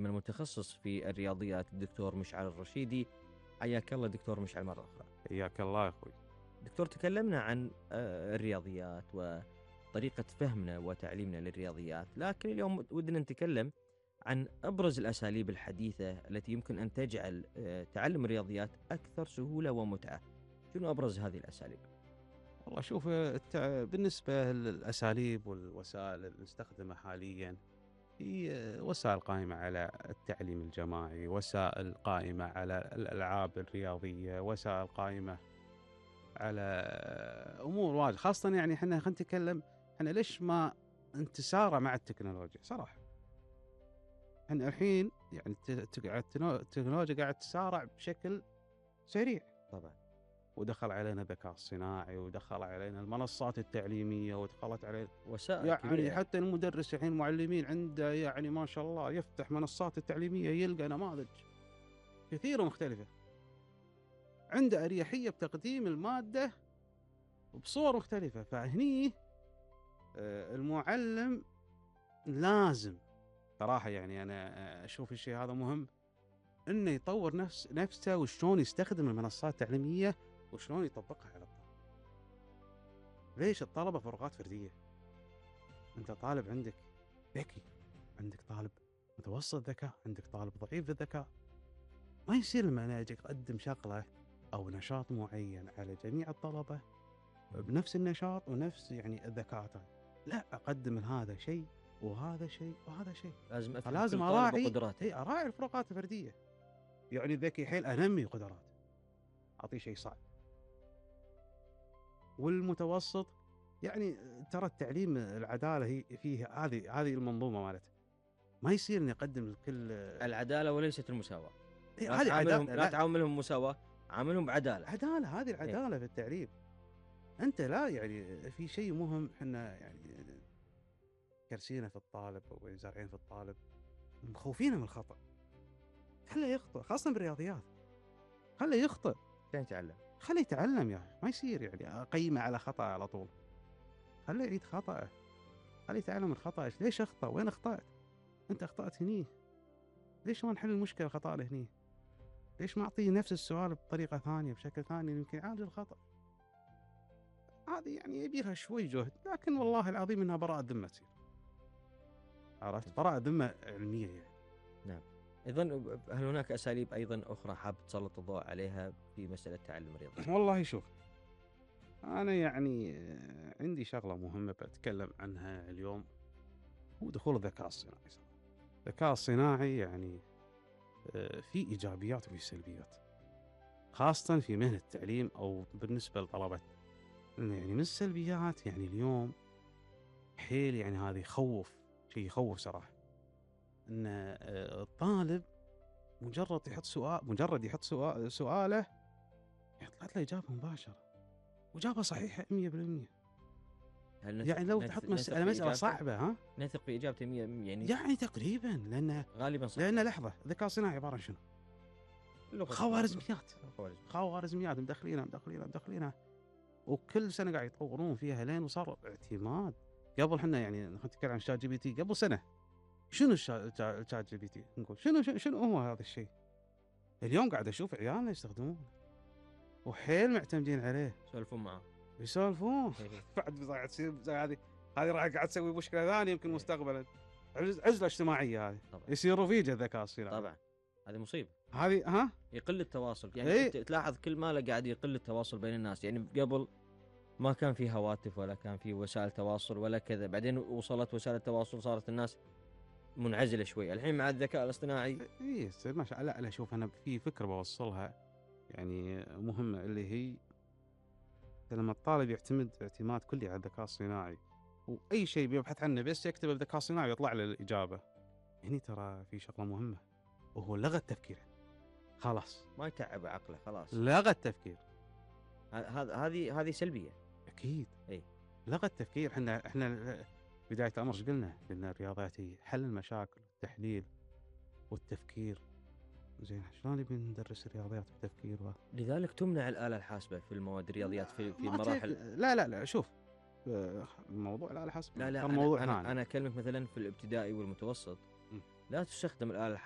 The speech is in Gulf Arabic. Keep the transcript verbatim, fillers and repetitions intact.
التعليم المتخصص في الرياضيات الدكتور مشعل الرشيدي. حياك الله دكتور مشعل مرة أخرى. حياك الله يا أخوي. دكتور، تكلمنا عن آه، الرياضيات وطريقة فهمنا وتعليمنا للرياضيات، لكن اليوم ودنا نتكلم عن أبرز الأساليب الحديثة التي يمكن أن تجعل آه، تعلم الرياضيات أكثر سهولة ومتعة. شنو أبرز هذه الأساليب؟ والله شوف، التع... بالنسبة للأساليب والوسائل اللي نستخدمها حاليا، هي وسائل قائمة على التعليم الجماعي، وسائل قائمة على الألعاب الرياضية، وسائل قائمة على أمور واجد. خاصة يعني احنا خلينا نتكلم، احنا ليش ما نتسارع مع التكنولوجيا صراحة. احنا الحين يعني الت- الت- التكنولوجيا قاعد تسارع بشكل سريع طبعا. ودخل علينا الذكاء الصناعي، ودخل علينا المنصات التعليمية، ودخلت علينا وسائل يعني كبيرة. حتى المدرس الحين المعلمين عنده يعني ما شاء الله يفتح منصات التعليمية يلقى نماذج كثيرة مختلفة، عنده أريحية بتقديم المادة بصور مختلفة. فهني آه، المعلم لازم صراحة، يعني أنا أشوف الشيء هذا مهم، إنه يطور نفس نفسه وشلون يستخدم المنصات التعليمية وشلون يطبقها على الطلبة. ليش الطلبة فروقات فردية؟ أنت طالب عندك ذكي، عندك طالب متوسط ذكاء، عندك طالب ضعيف الذكاء. ما يصير لما أنا أجي أقدم شغلة أو نشاط معين على جميع الطلبة بنفس النشاط ونفس يعني الذكاء، لا، أقدم هذا شيء وهذا شيء وهذا شيء. لازم أفهم فلازم كل طالب أراعي وقدراته. إيه أراعي الفروقات الفردية. يعني الذكي حيل أنمي قدراته، أعطيه شيء صعب. والمتوسط يعني ترى التعليم العدالة هي فيه هذه هذه المنظومة مالته. ما يصير إني أقدم لكل العدالة وليست المساواة. إيه لا هذه تعاملهم عدالة، لا تعاملهم مساواة، عاملهم بعدالة. عدالة، هذه العدالة في التعليم. أنت لا يعني في شيء مهم، إحنا يعني كرسينا في الطالب وزارعين في الطالب، مخوفينه من الخطأ. خليه يخطئ، خاصة بالرياضيات، خليه يخطئ، عشان يتعلم. خليه يتعلم. يا أخي ما يصير يعني أقيمه على خطأ على طول. خليه يعيد خطأه، خليه يتعلم من خطأه. ليش أخطأ؟ وين أخطأت؟ أنت أخطأت هني، ليش ما نحل المشكلة الخطأ اللي هني؟ ليش ما أعطيه نفس السؤال بطريقة ثانية بشكل ثاني يمكن يعالج الخطأ؟ هذه يعني يبيها شوي جهد، لكن والله العظيم إنها براءة ذمة تصير. عرفت؟ براءة ذمة علمية يعني. نعم. أيضا هل هناك أساليب أيضا أخرى حاب تسلط الضوء عليها في مسألة تعلم الرياضة؟ والله شوف، أنا يعني عندي شغلة مهمة بتكلم عنها اليوم، هو دخول الذكاء الصناعي. الذكاء الصناعي يعني في إيجابيات وفي سلبيات، خاصة في مهنة التعليم أو بالنسبة لطلبة. يعني من السلبيات يعني اليوم حيل يعني هذا يخوف، شيء يخوف صراحة، أن الطالب مجرد يحط سؤال مجرد يحط سؤال سؤاله يطلع له إجابة مباشرة وإجابة صحيحة مية بالمية. يعني لو تحط مسألة مسألة صعبة، ها نثق في إجابته مية يعني يعني تقريبا، لأن غالبا صح. لأن لحظة، الذكاء الصناعي عبارة عن شنو؟ خوارزميات خوارزميات مدخلينها مدخلينها مدخلينها وكل سنة قاعد يطورون فيها لين وصار اعتماد. قبل حنا يعني نتكلم عن شات جي بي تي قبل سنة، شنو الشات جي بي تي؟ نقول شنو شنو هو هذا الشيء؟ اليوم قاعد أشوف عيالنا يستخدمونه وحيل معتمدين عليه، يسولفون معه يسولفون. بعد قاعد تصير زي هذه هذه راح قاعد تسوي مشكلة ثانية يمكن مستقبلا، عزلة اجتماعية هذه يصير رفيج الذكاء الصناعي. طبعا هذه مصيبة. هذه ها يقل التواصل يعني إيه؟ تلاحظ كل ما له قاعد يقل التواصل بين الناس. يعني قبل ما كان في هواتف ولا كان في وسائل تواصل ولا كذا، بعدين وصلت وسائل التواصل صارت الناس منعزلة شوي. الحين مع الذكاء الاصطناعي اي ما شاء الله. لا لا شوف، انا في فكرة بوصلها يعني مهمة، اللي هي لما الطالب يعتمد اعتماد كلي على الذكاء الصناعي واي شيء بيبحث عنه بس يكتبه بالذكاء الصناعي يطلع له الإجابة، هني ترى في شغلة مهمة وهو لغى التفكير. خلاص ما يتعب عقله، خلاص لغى التفكير. هذا هذه هذه سلبية اكيد. اي لغى التفكير. احنا احنا بداية الامر ايش قلنا؟ قلنا الرياضيات هي حل المشاكل والتحليل والتفكير. زين شلون نبي ندرس الرياضيات والتفكير و... لذلك تمنع الآلة الحاسبة في المواد الرياضيات في في المراحل. لا لا لا شوف، الموضوع الآلة الحاسبة لا لا موضوع أنا, ثاني. أنا أنا أكلمك مثلا في الابتدائي والمتوسط م. لا تستخدم الآلة الحاسبة